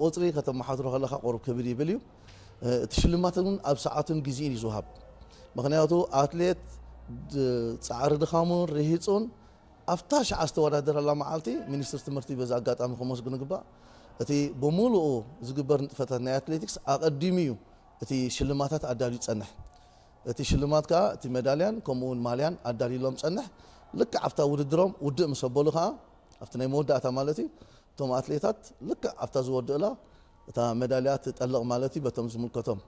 ቁፅሪ ከተመሓድሮ ከለኻ ቁሩብ ክብድ ይብል እዩ። እቲ ሽልማት እውን ኣብ ሰዓቱን ግዜኡን እዩ ዝወሃብ። ምኽንያቱ ኣትሌት ድ- ፃዕሪ ድኻሙን ርሂፁን ኣብታ ሸዓ ዝተወዳደረላ መዓልቲ ሚኒስትር ትምህርቲ በዚ ኣጋጣሚ ከመስግኑ ግባእ። እቲ ብምሉኡ ዝግበር ንጥፈታት ናይ ኣትሌቲክስ ኣቐዲሙ እዩ እቲ ሽልማታት ኣዳልዩ ዝጸንሕ። እቲ ሽልማት ከኣ እቲ መዳልያን ከምኡ እውን ማልያን ኣዳልዩሎም ዝጸንሕ። ልክዕ ኣብታ ውድድሮም ውድእ ምስ ኣበሉ ከኣ ኣብቲ ናይ መወዳእታ ማለት እዩ እቶም ኣትሌታት ልክዕ ኣብታ ዝወድእላ እታ መዳልያ ትጠልቕ ማለት እዩ በቶም ዝምልከቶም።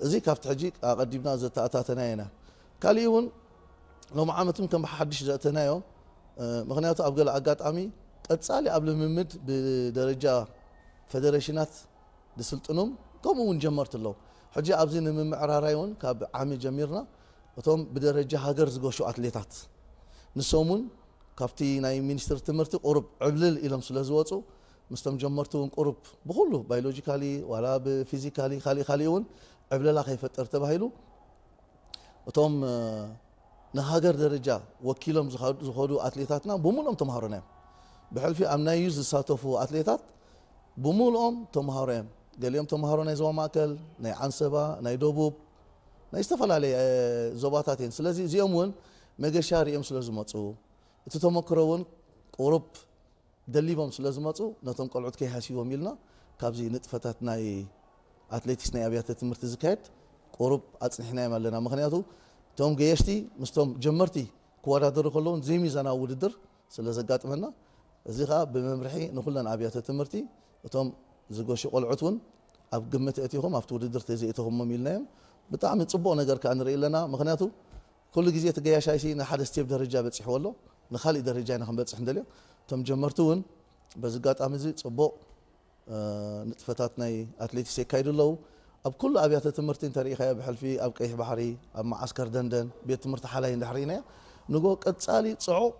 እዚ ካብቲ ሕጂ ኣቐዲምና ዘተኣታተናዮ ኢና። ካሊእ እውን ሎም ዓመትም ከም ሓድሽ ዘእተናዮ ምክንያቱ ኣብ ገለ ኣጋጣሚ ቀጻሊ ኣብ ልምምድ ብደረጃ ፈደረሽናት ዝስልጥኑም ከምኡ እውን ጀመርቲ ኣለዉ። ሕጂ ኣብዚ ንምምዕራራይ እውን ካብ ዓሚ ጀሚርና እቶም ብደረጃ ሃገር ዝገሹ ኣትሌታት ንሶም እውን ካብቲ ናይ ሚኒስትር ትምህርቲ ቁሩብ ዕብልል ኢሎም ስለ ዝወፁ ምስቶም ጀመርቲ እውን ቁሩብ ብኩሉ ባዮሎጂካሊ ዋላ ብፊዚካሊ ካሊእ ካሊእ እውን ዕብለላ ከይፈጠር ተባሂሉ እቶም ንሃገር ደረጃ ወኪሎም ዝኸዱ ኣትሌታትና ብምሉኦም ተምሃሮና እዮም። ብሕልፊ ኣብ ናይ ዩዝ ዝሳተፉ ኣትሌታት ብምሉኦም ተምሃሮ እዮም። ገሊኦም ተምሃሮ ናይ ዞባ ማእከል፣ ናይ ዓንሰባ፣ ናይ ደቡብ፣ ናይ ዝተፈላለየ ዞባታት እዮም። ስለዚ እዚኦም እውን መገሻ ሪኦም ስለ ዝመፁ እቲ ተመክሮ እውን ቁሩብ ደሊቦም ስለ ዝመፁ ነቶም ቆልዑት ከይሃስይዎም ኢልና ካብዚ ንጥፈታት ናይ ኣትሌቲክስ ናይ ኣብያተ ትምህርቲ ዝካየድ ቁሩብ ኣፅኒሕናዮም ኣለና። ምክንያቱ እቶም ገየሽቲ ምስቶም ጀመርቲ ክወዳደሩ ከለውን ዘይሚዛናዊ ውድድር ስለ ዘጋጥመና እዚ ከዓ ብመምርሒ ንኩለን ኣብያተ ትምህርቲ እቶም ዝገሹ ቆልዑት እውን ኣብ ግምት ኣእቲኹም ኣብቲ ውድድር ተዘይእተኹሞም ኢልናዮም። ብጣዕሚ ፅቡቕ ነገር ከዓ ንርኢ ኣለና። ምክንያቱ ኩሉ ግዜ እቲ ገያሻይሲ ንሓደ ስቴፕ ደረጃ በፂሕዎ ኣሎ ንካሊእ ደረጃ ኢና ክንበፅሕ ንደልዮ። እቶም ጀመርቲ እውን በዚ ኣጋጣሚ እዚ ፅቡቕ ንጥፈታት ናይ ኣትሌቲክስ የካይዱ ኣለዉ። ኣብ ኩሉ ኣብያተ ትምህርቲ እንተሪኢኻዮ ብሕልፊ ኣብ ቀይሕ ባሕሪ ኣብ መዓስከር ደንደን ቤት ትምህርቲ ሓላይ እንድሕር ርኢናዮ ንጎ ቀፃሊ ፅዑቕ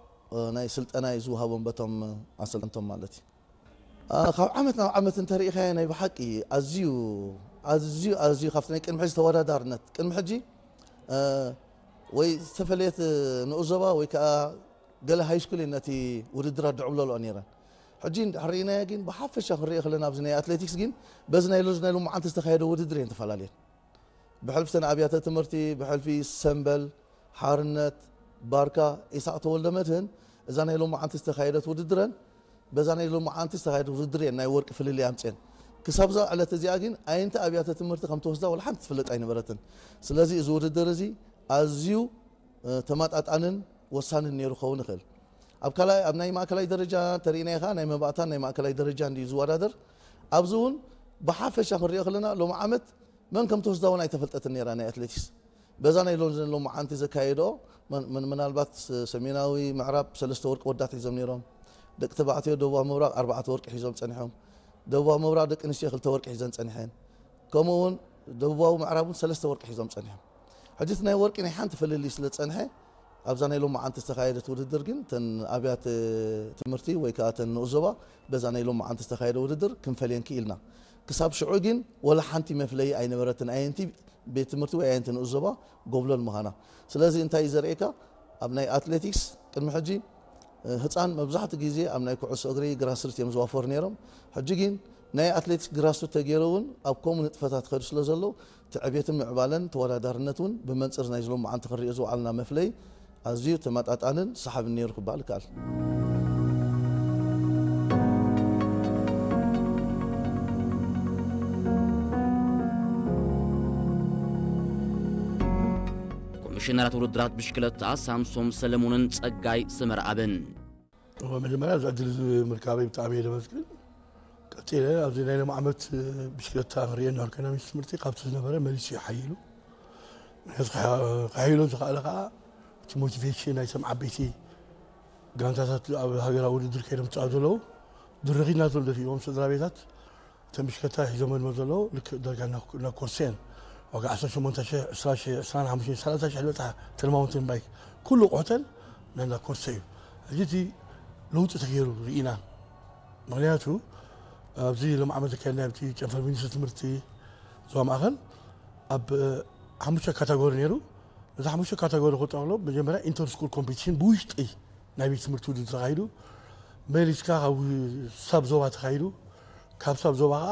ናይ ስልጠና እዩ ዝወሃቦም በቶም ኣሰልጠንቶም ማለት እዩ። ካብ ዓመት ናብ ዓመት እንተሪኢኻዮ ናይ ብሓቂ ኣዝዩ ኣዝዩ ኣዝዩ ካብቲ ናይ ቅድሚ ሕጂ ተወዳዳርነት ቅድሚ ሕጂ ወይ ዝተፈለየት ንኡስ ዞባ ወይ ከዓ ገለ ሃይስኩል እየን ነቲ ውድድራት ድዕብለልኦ ነይረን። ሕጂ እንድሕር ርኢናዮ ግን ብሓፈሻ ክንሪኦ ከለና ኣብዚ ናይ ኣትሌቲክስ ግን በዚ ናይ ሎዚ ናይ ሎማዓንቲ ዝተኻየደ ውድድር እየን ተፈላለየን። ብሕልፊ ተን ኣብያተ ትምህርቲ ብሕልፊ ሰምበል፣ ሓርነት፣ ባርካ፣ ኢሳቕ ተወልደ መድህን እዛ ናይ ሎማዓንቲ ዝተኻየደት ውድድረን በዛ ናይ ሎማዓንቲ ዝተኻየደት ውድድር እየን ናይ ወርቂ ፍልልይ ኣምፅኤን። ክሳብ እዛ ዕለት እዚኣ ግን ኣየንቲ ኣብያተ ትምህርቲ ከም ተወስዳ ወላ ሓንቲ ትፍለጥ ኣይነበረትን። ስለዚ እዚ ውድድር እዚ ኣዝዩ ተመጣጣንን ወሳንን ነይሩ ክኸውን ይኽእል። ኣብ ካልኣይ ኣብ ናይ ማእከላይ ደረጃ ተሪእናዮ ከዓ ናይ መባእታን ናይ ማእከላይ ደረጃ እንድዩ ዝወዳደር። ኣብዚ እውን ብሓፈሻ ክንሪኦ ከለና ሎሚ ዓመት መን ከም ተወስዳ እውን ኣይተፈልጠትን ነይራ ናይ ኣትሌቲክስ። በዛ ናይ ሎንዘን ሎሚ ዓንቲ ዘካየድኦ መን- መን- ምናልባት ሰሜናዊ ምዕራብ ሰለስተ ወርቂ ወዳት ሒዞም ነይሮም። ደቂ ተባዕትዮ ደቡባዊ ምብራቕ ኣርባዕተ ወርቂ ሒዞም ጸኒሖም። ደቡባዊ ምብራቕ ደቂ ኣንስትዮ ክልተ ወርቂ ሒዘን ጸኒሐን። ከምኡ እውን ደቡባዊ ምዕራብ እውን ሰለስተ ወርቂ ሒዞም ጸኒሖም። ሕጂ እቲ ናይ ወርቂ ናይ ሓንቲ ፍልልይ ስለ ዝጸንሐ ኣብዛ ናይ ሎማዓንቲ ዝተኻየደት ውድድር ግን ተን ኣብያተ ትምህርቲ ወይ ከዓ ተን ንኡስ ዞባ በዛ ናይ ሎማዓንቲ ዝተኻየደ ውድድር ክንፈልየን ክኢልና። ክሳብ ሽዑ ግን ወላ ሓንቲ መፍለዪ ኣይነበረትን ኣየንቲ ቤት ትምህርቲ ወይ ኣየንቲ ንኡስ ዞባ ጎብለል ምዃና። ስለዚ እንታይ እዩ ዘርእየካ ኣብ ናይ ኣትሌቲክስ ቅድሚ ሕጂ ህፃን መብዛሕትኡ ግዜ ኣብ ናይ ኩዕሶ እግሪ ግራስሩት እዮም ዝዋፈሩ ነይሮም። ሕጂ ግን ናይ ኣትሌቲክስ ግራስሩት ተገይሩ እውን ኣብ ከምኡ ንጥፈታት ይኸዱ ስለ ዘለዉ እቲ ዕቤትን ምዕባለን ተወዳዳርነት እውን ብመንፅር ናይ ዝሎማዓንቲ ክንሪኦ ዝወዓልና መፍለይ ኣዝዩ ተመጣጣንን ሰሓብን ነይሩ ክበሃል ይከኣል። ኮሚሽነራት ውድድራት ብሽክለታ ሳምሶም ሰለሙንን ጸጋይ ሰመርኣብን። እወ መጀመርያ እዚ ዕድል እዚ ምርካበይ ብጣዕሚ እየ ዘመስግን። ቀፂለ ኣብዚ ናይ ሎም ዓመት ብሽክለታ ክንሪኦ እናበልካ ኢና ሚኒስትር ትምህርቲ ካብቲ ዝነበረ መሊሱ እዩ ሓይሉ። ምክንያቱ ክሓይሎ ዝኸኣለ ከዓ እቲ ሞቲቬሽን ናይቶም ዓበይቲ ጋንታታት ኣብ ሃገራዊ ውድድር ከይዶም ዝፃወቱ ዘለዉ ድርኺት ናቶም ደፊእዎም ስድራ ቤታት እተን ብሽክለታ ሒዞመን ዘለዉ ልክዕ ዳርጋ ናብ ኮርሰ እየን። ዋጋ ዓሰርተ ሸሞንተ ሺሕ፣ ዕስራ ሺሕ፣ ዕስራን ሓሙሽተን፣ ሰላሳ ሺሕ ዝበፅሓ እተን ማውንቴን ባይክ ኩሉ ኣቑሑተን ናይ እንዳ ኮርሰ እዩ። ሕጂ እቲ ለውጢ ተገይሩ ርኢና። ምኽንያቱ ኣብዚ ሎም ዓመት ዘካየድናዮ ኣብቲ ጨንፈር ሚኒስትሪ ትምህርቲ ዞባ ማእኸል ኣብ ሓሙሽተ ካታጎሪ ነይሩ። ነዚ ሓሙሽተ ካታጎሪ ክጠቕሎ መጀመርያ ኢንተር ስኩል ኮምፒቲሽን ብውሽጢ ናይ ቤት ትምህርቲ ውድድር ተኻይዱ። መሊስካ ካብ ሳብ ዞባ ተኻይዱ። ካብ ሳብ ዞባ